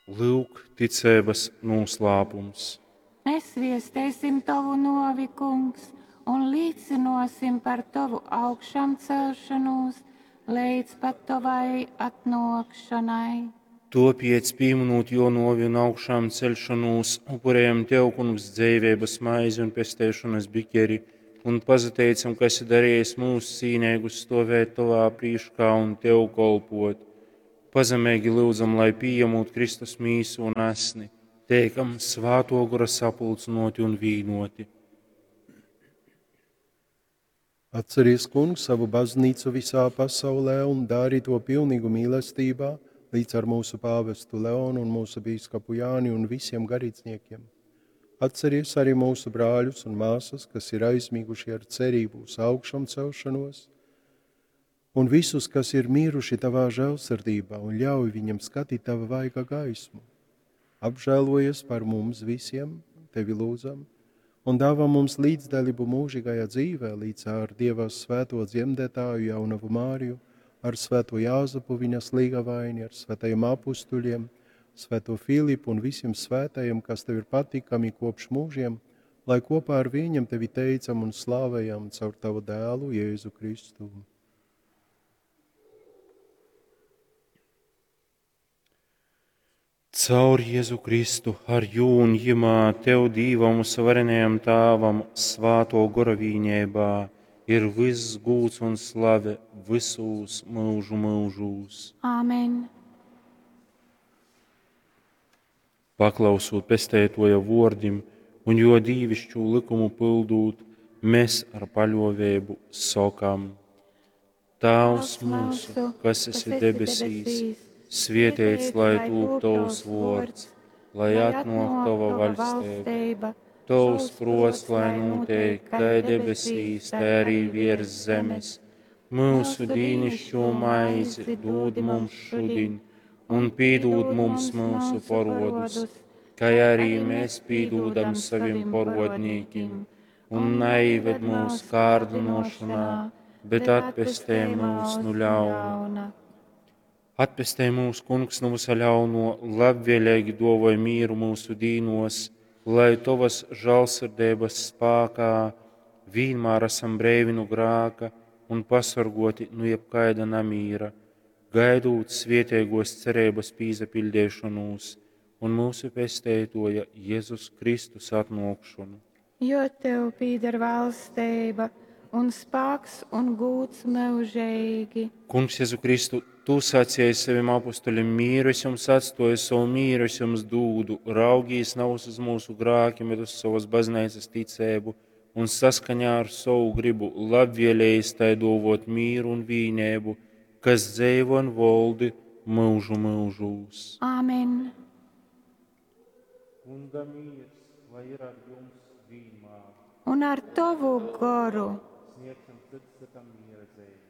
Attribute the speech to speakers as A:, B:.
A: Lyuk, ticeibas nūslāpums.
B: Mēs viesteisim tovu nōvi, Kungs, un līcynōsim par tovu augšamcelšonūs leidz pat tovai atnōkšonai.
A: Tōpēc, pīmynūt jō nōvi un augšāmceļšonūs, upurējam Tev, Kungs, dzeiveibas maizi un pesteišonas bikeri, un pazateicam, ka esi darījis mūs cīneigus stovēt Tovā prīškā un Tev kolpot. Pazemeigi lyudzam, lai pījemūt Kristus mīsu un asni, teikam Svātō Gora sapulcynōti un vīnoti.
C: Atceries, Kungs, savu baznīcu visā pasaulē un dari to pilnīgu mīlestībā, līdz ar mūsu pāvestu Leonu un mūsu bīskapu Jāni un visiem garīdzniekiem. Atceries arī mūsu brāļus un māsas, kas ir aizmiguši ar cerību uz augšām celšanos, un visus, kas ir miruši tavā žēlsirdībā, un ļauj viņam skatīt tava vaiga gaismu. Apžēlojies par mums visiem, tevi lūdzam, un dāvā mums līdzdalību mūžīgajā dzīvē, līdz ar Dieva svēto dzemdētāju jaunavu Māriju, ar svēto Jāzepu viņas līgavaini, ar svētajiem apustuļiem, svēto Filipu un visiem svētajiem, kas tev ir patīkami kopš mūžiem, lai kopā ar viņiem tevi teicam un slavējam caur tavu dēlu Jēzu Kristu.
A: Caur Jēzu Kristu, ar jū un jimā, Tev, Dīvam un varenajam Tāvam, svāto gora vīņībā, ir viss gūds un slave visūs mūžu mūžūs.
B: Āmen.
A: Paklausūt pestētoja vordim un jo dīvišķu likumu pildūt, mēs ar paļovēbu sokam: Tēvs mūsu, kas esi debesīs, svietēts lai tūp tavs vords, lai atnāk tava vaļstība. Tavs prots, lai notiek, kā debesīs, tā arī virs zemes. Mūsu dīnišķo maizi dod mums šodien, un pīdūd mums mūsu parodus, kā arī mēs pīdūdam saviem parodnīkim, un neived mūs kārdinošanā, bet atpestē mūs nu ļauna. Atpestē mūs, Kungs, no visa ļauno, labvēlīgi dovoj mīru mūsu dīnos, lai Tavas žālsirdības spākā vienmēr esam breivi no grāka un pasargoti no jebkaida namīra, gaidūt svietēgos cerības pīzapildēšanos un mūsu pestētoja Jēzus Kristus atnākšanu.
B: Jo Tev pīder valstība un spāks un gūds mūžīgi.
A: Kungs, Jēzu Kristu, Tu sacīji saviem apustuļiem, mīru es jums atstoju, savu mīru es jums dūdu, raugīs nav uz mūsu grākiem, bet uz savas baznīcas ticēbu un saskaņā ar savu gribu labvēlējis tai dovot mīru un vīnēbu, kas dzeivo un voldi mūžu mūžūs.
B: Āmen.
A: Kunga mīrs, lai ir ar jums vienmēr.
B: Un ar tavu goru.
A: Sniegsim cits citam miera zīmi.